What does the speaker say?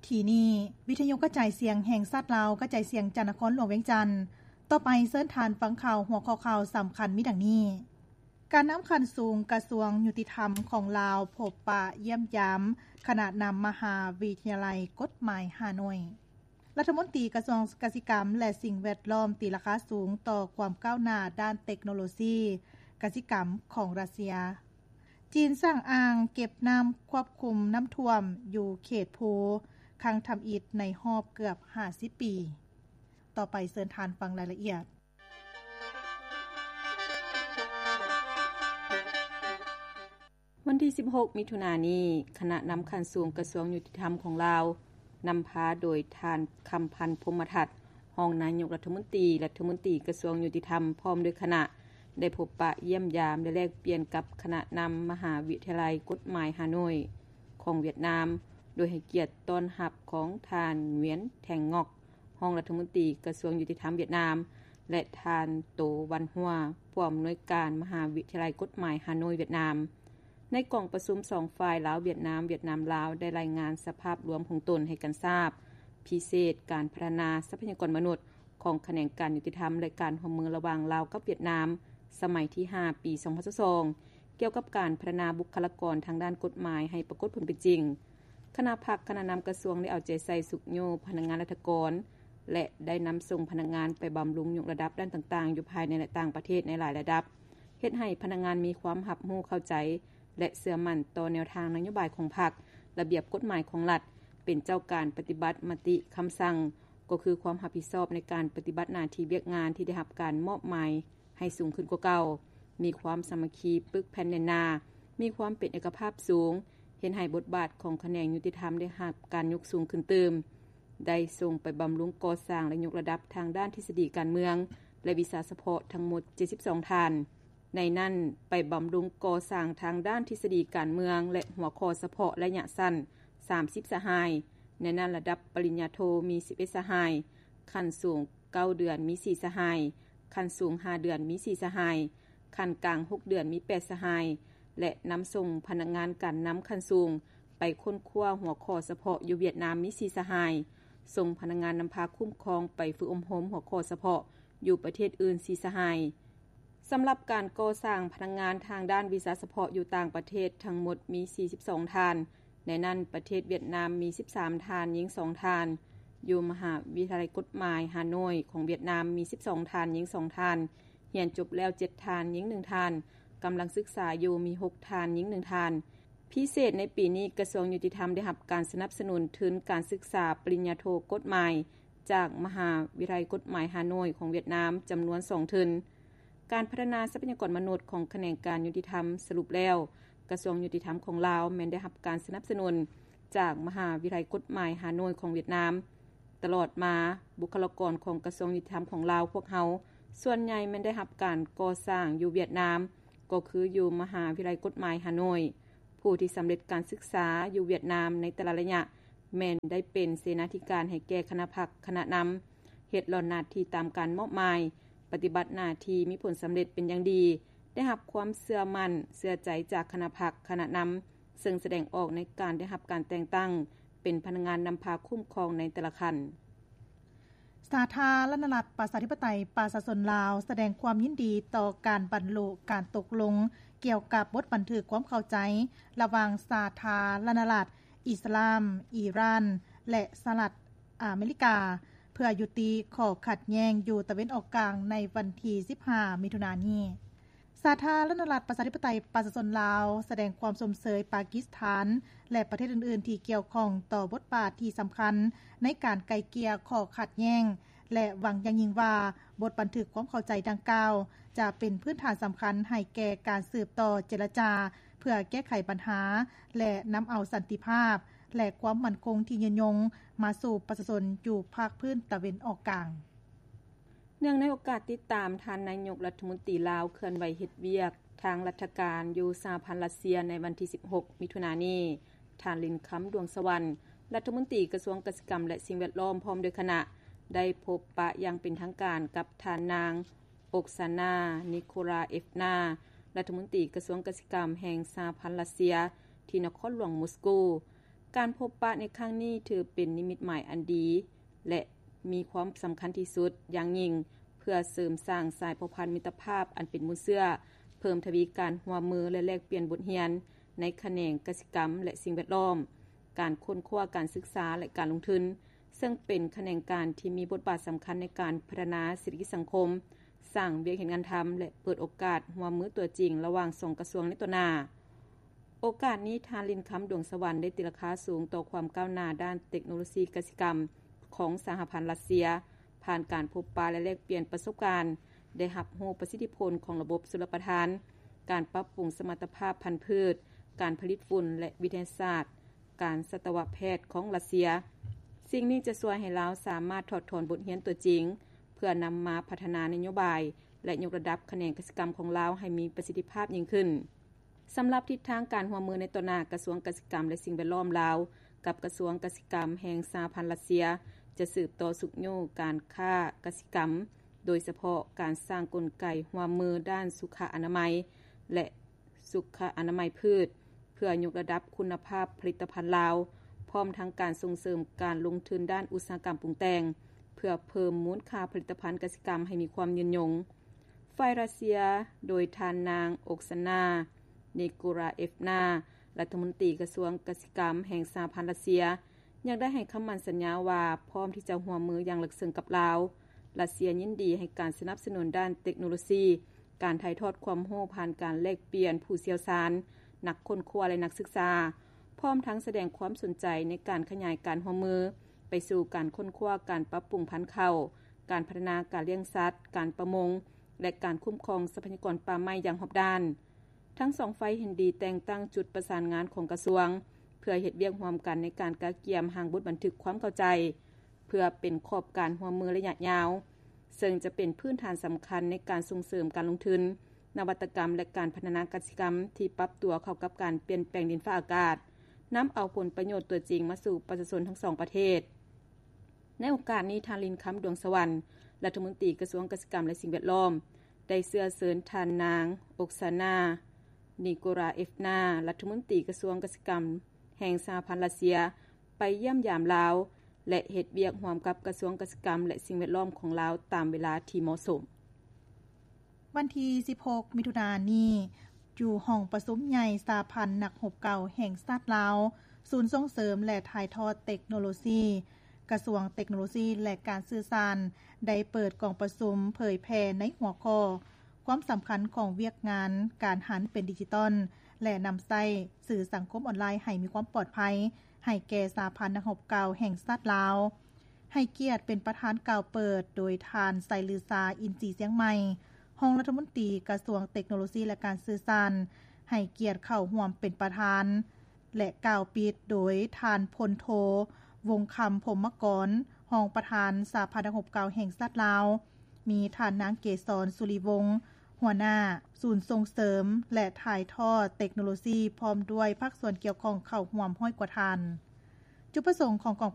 ທີ່ນີ້ ວິທະຍຸກະຈາຍສຽງແຫ່ງຊາດລາວ ກະຈາຍສຽງຈາກນະຄອນຫຼວງວຽງຈັນ. ຕໍ່ໄປເຊີນທ່ານຟັງຂ່າວ ຫົວຂໍ້ຂ່າວສຳຄັນມີດັ່ງນີ້: ການນຳຂັ້ນສູງກະຊວງຍຸຕິທຳຂອງລາວ ພົບປະຢ້ຽມຢາມຄະນະນຳມະຫາວິທະຍາໄລກົດໝາຍຮ່າໂນ້ຍ. ລັດຖະມົນຕີກະຊວງກະສິກຳ ແລະ ສິ່ງແວດລ້ອມຕີລາຄາສູງຕໍ່ຄວາມກ້າວໜ້າດ້ານເຕັກໂນໂລຊີກະສິກຳຂອງຣັດເຊຍ. ຈີນສ້າງອ່າງເກັບນ້ຳຄວບຄຸມນ້ຳຖ້ວມຢູ່ເຂດພູຄັ້ງທຳອິດໃນຮອບເກືອບຫ້າສິບປີ. ຕໍ່ໄປເຊີນທ່ານຟັງລາຍລະອຽດ. ວັນທີສິບຫົກ ມິຖຸນານີ້, ຄະນະນຳຂັ້ນສູງກະຊວງຍຸຕິທຳຂອງລາວ ນຳພາໂດຍທ່ານ ຄຳພັນ ພົມມະທັດ ຮອງນາຍົກລັດຖະມົນຕີ, ລັດຖະມົນຕີກະຊວງຍຸຕິທຳ ພ້ອມດ້ວຍຄະນະ ໄດ້ພົບປະຢ້ຽມຢາມ ແລະ ແລກປ່ຽນກັບຄະນະນຳມະຫາວິທະຍາໄລກົດໝາຍຮ່າໂນ້ຍຂອງຫວຽດນາມ, ໂດຍໃຫ້ກຽດຕ້ອນຮັບຂອງທ່ານ ຫງວຽນ ແທງງອກ ຮອງລັດຖະມົນຕີກະຊວງຍຸຕິທຳຫວຽດນາມ ແລະ ທ່ານ ໂຕ ວັນຫົວ ຜູ້ອຳນວຍການມະຫາວິທະຍາໄລກົດໝາຍຮ່າໂນ້ຍຫວຽດນາມ. ໃນກອງປະຊຸມສອງຝ່າຍ ລາວ-ຫວຽດນາມ, ຫວຽດນາມ-ລາວ ໄດ້ລາຍງານສະພາບລວມຂອງຕົນໃຫ້ກັນຊາບ, ພິເສດການພັດທະນາຊັບພະຍາກອນມະນຸດຂອງຂະແໜງການຍຸຕິທຳ ແລະ ການຮ່ວມມືລະຫວ່າງລາວກັບຫວຽດນາມ ສະໄໝທີຫ້າ ປີສອງພັນຊາວສອງ ກ່ຽວກັບການພັດທະນາບຸກຄະລາກອນທາງດ້ານກົດໝາຍໃຫ້ປາກົດຜົນເປັນຈິງ. ຄະນະພັກຄະນະນຳກະຊວງໄດ້ເອົາໃຈໃສ່ຊຸກຍູ້ພະນັກງານລັດຖະກອນ ແລະ ໄດ້ນຳສົ່ງພະນັກງານໄປບຳລຸງຍົກລະດັບດ້ານຕ່າງໆ ຢູ່ພາຍໃນ ແລະ ຕ່າງປະເທດໃນຫຼາຍລະດັບ, ເຮັດໃຫ້ພະນັກງານມີຄວາມຮັບຮູ້ເຂົ້າໃຈ ແລະ ເຊື່ອໝັ້ນຕໍ່ແນວທາງນະໂຍບາຍຂອງພັກ, ລະບຽບກົດໝາຍຂອງລັດ, ເປັນເຈົ້າການປະຕິບັດມະຕິຄຳສັ່ງ, ກໍຄືຄວາມຮັບຜິດຊອບໃນການປະຕິບັດໜ້າທີ່ວຽກງານທີ່ໄດ້ຮັບການມອບໝາຍ ໃຫ້ສູງຂຶ້ນກວ່າເກົ່າ, ມີຄວາມສາມັກຄີປຶກແຜ່ນແໜ້ນໜາ, ມີຄວາມເປັນເອກະພາບສູງ, ເຮັດໃຫ້ບົດບາດຂອງຂະແໜງຍຸຕິທຳໄດ້ຮັບການຍົກສູງຂຶ້ນຕື່ມ, ໄດ້ສົ່ງໄປບຳລຸງກໍ່ສ້າງ ແລະ ຍົກລະດັບທາງດ້ານທິດສະດີການເມືອງ ແລະ ວິຊາສະເພາະທັງໝົດເຈັດສິບສອງທ່ານ, ໃນນັ້ນໄປບຳລຸງກໍ່ສ້າງທາງດ້ານທິດສະດີການເມືອງ ແລະ ຫົວຂໍ້ສະເພາະໄລຍະສັ້ນ ສາມສິບສະຫາຍ, ໃນນັ້ນລະດັບປະລິນຍາໂທມີສິບເອັດສະຫາຍ, ຂັ້ນສູງ ເກົ້າເດືອນມີສີ່ສະຫາຍ, ຂັ້ນສູງຫ້າເດືອນມີສີ່ສະຫາຍ, ຂັ້ນກາງຫົກເດືອນມີແປດສະຫາຍ ແລະ ນຳສົ່ງພະນັກງານການນຳຂັ້ນສູງໄປຄົ້ນຄວ້າຫົວຂໍ້ສະເພາະຢູ່ຫວຽດນາມມີສີ່ສະຫາຍ, ສົ່ງພະນັກງານນຳພາຄຸ້ມຄອງໄປຝຶກອົບຮົມຫົວຂໍ້ສະເພາະຢູ່ປະເທດອື່ນສີ່ສະຫາຍ. ສຳລັບການກໍ່ສ້າງພະນັກງານທາງດ້ານວິຊາສະເພາະຢູ່ຕ່າງປະເທດທັງໝົດມີສີ່ສິບສອງທ່ານ, ໃນນັ້ນປະເທດຫວຽດນາມມີສິບສາມທ່ານ, ຍິງສອງທ່ານ, ຢູ່ມະຫາວິທະຍາໄລກົດໝາຍຮ່າໂນ້ຍຂອງຫວຽດນາມມີສິບສອງທ່ານ, ຍິງສອງທ່ານ, ຮຽນຈົບແລ້ວເຈັດທ່ານ, ຍິງໜຶ່ງທ່ານ, ກຳລັງສຶກສາຢູ່ມີຫົກທ່ານ, ຍິງໜຶ່ງທ່ານ. ພິເສດໃນປີນີ້ ກະຊວງຍຸຕິທຳໄດ້ຮັບການສະໜັບສະໜູນທຶນການສຶກສາປະລິນຍາໂທກົດໝາຍ ຈາກມະຫາວິທະຍາໄລກົດໝາຍຮ່າໂນ້ຍຂອງຫວຽດນາມຈຳນວນສອງທຶນ. ການພັດທະນາຊັບພະຍາກອນມະນຸດຂອງຂະແໜງການຍຸຕິທຳສະຫຼຸບແລ້ວ, ກະຊວງຍຸຕິທຳຂອງລາວແມ່ນໄດ້ຮັບການສະໜັບສະໜູນຈາກມະຫາວິທະຍາໄລກົດໝາຍຮ່າໂນ້ຍຂອງຫວຽດນາມ. ຕະຫຼອດມາ, ບຸກຄະລາກອນຂອງກະຊວງຍຸຕິທຳຂອງລາວພວກເຮົາ ສ່ວນໃຫຍ່ແມ່ນໄດ້ຮັບການກໍ່ສ້າງຢູ່ຫວຽດນາມ, ກໍຄືຢູ່ມະຫາວິທະຍາໄລກົດໝາຍຮ່າໂນ້ຍ. ຜູ້ທີ່ສຳເລັດການສຶກສາຢູ່ຫວຽດນາມໃນແຕ່ລະໄລຍະ ແມ່ນໄດ້ເປັນເສນາທິການໃຫ້ແກ່ຄະນະພັກຄະນະນຳ, ເຮັດຫຼ້ອນໜ້າທີ່ຕາມການມອບໝາຍ, ປະຕິບັດໜ້າທີ່ມີຜົນສຳເລັດເປັນຢ່າງດີ, ໄດ້ຮັບຄວາມເຊື່ອໝັ້ນເຊື່ອໃຈຈາກຄະນະພັກຄະນະນຳ, ເຊິ່ງສະແດງອອກໃນການໄດ້ຮັບການແຕ່ງຕັ້ງເປັນພະນັກງານນຳພາຄຸ້ມຄອງໃນແຕ່ລະຂັ້ນ. ສາທາລະນະລັດ ປະຊາທິປະໄຕ ປະຊາຊົນລາວ ສະແດງຄວາມຍິນດີຕໍ່ການບັນລຸການຕົກລົງກ່ຽວກັບບົດບັນທຶກຄວາມເຂົ້າໃຈລະຫວ່າງສາທາລະນະລັດອິດສະລາມອີຣານ ແລະ ສະຫະລັດອາເມລິກາ ເພື່ອຍຸຕິຂໍ້ຂັດແຍ່ງຢູ່ຕາເວັນອອກກາງໃນວັນທີສິບຫ້າ ມິຖຸນານີ້. ສາທາລະນະລັດ ປະຊາທິປະໄຕ ປະຊາຊົນລາວ ສະແດງຄວາມຊົມເຊີຍປາກິສຖານ ແລະ ປະເທດອື່ນໆທີ່ກ່ຽວຂ້ອງຕໍ່ບົດບາດທີ່ສຳຄັນໃນການໄກ່ເກ່ຍຂໍ້ຂັດແຍ່ງ ແລະ ຫວັງຢ່າງຍິ່ງວ່າ ບົດບັນທຶກຄວາມເຂົ້າໃຈດັ່ງກ່າວ ຈະເປັນພື້ນຖານສຳຄັນໃຫ້ແກ່ການສືບຕໍ່ເຈລະຈາ ເພື່ອແກ້ໄຂບັນຫາ ແລະ ນຳເອົາສັນຕິພາບ ແລະ ຄວາມໝັ້ນຄົງທີ່ຍືນຍົງມາສູ່ປະຊາຊົນຢູ່ພາກພື້ນຕາເວັນອອກກາງ. ເນື່ອງໃນໂອກາດຕິດຕາມທ່ານນາຍົກລັດຖະມົນຕີລາວເຄື່ອນໄຫວເຮັດວຽກທາງລັດຖະການຢູ່ສະຫະພັນຣັດເຊຍໃນວັນທີສິບຫົກ ມິຖຸນານີ້, ທ່ານ ລິນຄຳ ດວງສະຫວັນ ລັດຖະມົນຕີກະຊວງກະສິກຳ ແລະ ສິ່ງແວດລ້ອມ ພ້ອມດ້ວຍຄະນະ ໄດ້ພົບປະຢ່າງເປັນທາງການກັບທ່ານນາງ ໂອກຊານາ ນິໂຄລາເອຟນາ ລັດຖະມົນຕີກະຊວງກະສິກຳແຫ່ງສະຫະພັນຣັດເຊຍ ທີ່ນະຄອນຫຼວງມົສໂກ. ການພົບປະໃນຄັ້ງນີ້ ຖືເປັນນິມິດໝາຍອັນດີ ແລະ ມີຄວາມສຳຄັນທີ່ສຸດຢ່າງຍິ່ງ ເພື່ອເສີມສ້າງສາຍພົວພັນມິດຕະພາບອັນເປັນມູນເຊື້ອ, ເພີ່ມທະວີການຮ່ວມມື ແລະ ແລກປ່ຽນບົດຮຽນໃນຂະແໜງກະສິກຳ ແລະ ສິ່ງແວດລ້ອມ, ການຄົ້ນຄວ້າ, ການສຶກສາ ແລະ ການລົງທຶນ, ເຊິ່ງເປັນຂະແໜງການທີ່ມີບົດບາດສຳຄັນໃນການພັດທະນາເສດຖະກິດສັງຄົມ, ສ້າງວຽກເຮັດງານທຳ ແລະ ເປີດໂອກາດຮ່ວມມືຕົວຈິງລະຫວ່າງສອງກະຊວງໃນຕໍ່ໜ້າ. ໂອກາດນີ້ ທ່ານ ລິນຄຳ ດວງສະຫວັນ ໄດ້ຕີລາຄາສູງຕໍ່ຄວາມກ້າວໜ້າດ້ານເຕັກໂນໂລຊີກະສິກຳຂອງສະຫະພັນຣັດເຊຍ, ຜ່ານການພົບປະ ແລະ ແລກປ່ຽນປະສົບການ, ໄດ້ຮັບຮູ້ປະສິດທິຜົນຂອງລະບົບຊົນລະປະທານ, ການປັບປຸງສະມັດຕະພາບພັນພືດ, ການຜະລິດຝຸ່ນ ແລະ ວິທະຍາສາດການສັດຕະວະແພດຂອງຣັດເຊຍ. ສິ່ງນີ້ຈະຊ່ວຍໃຫ້ລາວສາມາດຖອດຖອນບົດຮຽນຕົວຈິງ ເພື່ອນຳມາພັດທະນານະໂຍບາຍ ແລະ ຍົກລະດັບຂະແໜງກະສິກຳຂອງລາວໃຫ້ມີປະສິດທິພາບຍິ່ງຂຶ້ນ. ສຳລັບທິດທາງການຮ່ວມມືໃນຕໍ່ໜ້າ, ກະຊວງກະສິກຳ ແລະ ສິ່ງແວດລ້ອມລາວ ກັບກະຊວງກະສິກຳແຫ່ງສະຫະພັນຣັດເຊຍ ຈະສືບຕໍ່ຊຸກຍູ້ການຄ້າກະສິກຳ, ໂດຍສະເພາະການສ້າງກົນໄກຮ່ວມມືດ້ານສຸຂະອະນາໄມ ແລະ ສຸຂະອະນາໄມພືດ ເພື່ອຍົກລະດັບຄຸນນະພາບຜະລິດຕະພັນລາວ, ພ້ອມທັງການສົ່ງເສີມການລົງທຶນດ້ານອຸດສາຫະກຳປຸງແຕ່ງ ເພື່ອເພີ່ມມູນຄ່າຜະລິດຕະພັນກະສິກຳໃຫ້ມີຄວາມຍືນຍົງ. ຝ່າຍຣັດເຊຍ ໂດຍທ່ານນາງ ໂອກຊານາ ນີໂກຣາເອຟນາ ລັດຖະມົນຕີກະຊວງກະສິກຳແຫ່ງສະຫະພັນຣັດເຊຍ ຍັງໄດ້ໃຫ້ຄຳໝັ້ນສັນຍາວ່າ ພ້ອມທີ່ຈະຮ່ວມມືຢ່າງເລິກເຊິ່ງກັບລາວ. ຣັດເຊຍຍິນດີໃຫ້ການສະໜັບສະໜູນດ້ານເຕັກໂນໂລຊີ, ການຖ່າຍທອດຄວາມຮູ້ຜ່ານການແລກປ່ຽນຜູ້ຊ່ຽວຊານ, ນັກຄົ້ນຄວ້າ ແລະ ນັກສຶກສາ, ພ້ອມທັງສະແດງຄວາມສົນໃຈໃນການຂະຫຍາຍການຮ່ວມມືໄປສູ່ການຄົ້ນຄວ້າ, ການປັບປຸງພັນເຂົ້າ, ການພັດທະນາການລ້ຽງສັດ, ການປະມົງ ແລະ ການຄຸ້ມຄອງຊັບພະຍາກອນປ່າໄມ້ຢ່າງຮອບດ້ານ. ທັງສອງຝ່າຍເຫັນດີແຕ່ງຕັ້ງຈຸດປະສານງານຂອງກະຊວງ ເພື່ອເຮັດວຽກຮ່ວມກັນໃນການກະກຽມຮ່າງບົດບັນທຶກຄວາມເຂົ້າໃຈ ເພື່ອເປັນຂອບການຮ່ວມມືໄລຍະຍາວ, ເຊິ່ງຈະເປັນພື້ນຖານສຳຄັນໃນການສົ່ງເສີມການລົງທຶນ, ນະວັດຕະກຳ ແລະ ການພັດທະນາກະສິກຳທີ່ປັບຕົວເຂົ້າກັບການປ່ຽນແປງດິນຟ້າອາກາດ, ນຳເອົາຜົນປະໂຫຍດຕົວຈິງມາສູ່ປະຊາຊົນທັງສອງປະເທດ. ໃນໂອກາດນີ້, ທ່ານ ລິນຄຳ ດວງສະຫວັນ ລັດຖະມົນຕີກະຊວງກະສິກຳ ແລະ ສິ່ງແວດລ້ອມ ໄດ້ເຊື້ອເຊີນທ່ານນາງ ໂອກຊານາ ນີໂກຣາເອຟນາ ລັດຖະມົນຕີກະຊວງກະສິກຳແຫ່ງສະຫະພັນຣັດເຊຍ ໄປຢ້ຽມຢາມລາວ ແລະ ເຮັດວຽກຮ່ວມກັບກະຊວງກະສິກຳ ແລະ ສິ່ງແວດລ້ອມຂອງລາວຕາມເວລາທີ່ເໝາະສົມ. ວັນທີສິບຫົກ ມິຖຸນານີ້, ຢູ່ຫ້ອງປະຊຸມໃຫຍ່ສະຫະພັນນັກຮົບເກົ່າແຫ່ງຊາດລາວ, ສູນສົ່ງເສີມ ແລະ ຖ່າຍທອດເຕັກໂນໂລຊີ, ກະຊວງເຕັກໂນໂລຊີ ແລະ ການສື່ສານ ໄດ້ເປີດກອງປະຊຸມເຜີຍແຜ່ໃນຫົວຂໍ້ ຄວາມສຳຄັນຂອງວຽກງານການຫັນເປັນດິຈິຕອນ ແລະ ນຳໃຊ້ສື່ສັງຄົມອອນລາຍໃຫ້ມີຄວາມປອດໄພ ໃຫ້ແກ່ສະຫະພັນນັກຮົບເກົ່າແຫ່ງຊາດລາວ. ໃຫ້ກຽດເປັນປະທານກ່າວເປີດໂດຍທ່ານ ໄຊລືຊາ ອິນສີຊຽງໃໝ່ ຮອງລັດຖະມົນຕີກະຊວງເຕັກໂນໂລຊີ ແລະ ການສື່ສານ, ໃຫ້ກຽດເຂົ້າຮ່ວມເປັນປະທານ ແລະ ກ່າວປິດໂດຍທ່ານ ພົນໂທ ວົງຄຳ ພົມມະກອນ ຮອງປະທານສະຫະພັນນັກຮົບເກົ່າແຫ່ງຊາດລາວ, ມີທ່ານນາງ ເກສອນ ສຸລິວົງ ຫົວໜ້າສູນສົ່ງເສີມ ແລະ ຖ່າຍທອດເຕັກໂນໂລຊີ ພ້ອມດ້ວຍພາກສ່ວນກ່ຽວຂ້ອງເຂົ້າຮ່ວມຮ້ອຍກວ່າທ່ານ. ຈຸດປະສົງຂອງກອງ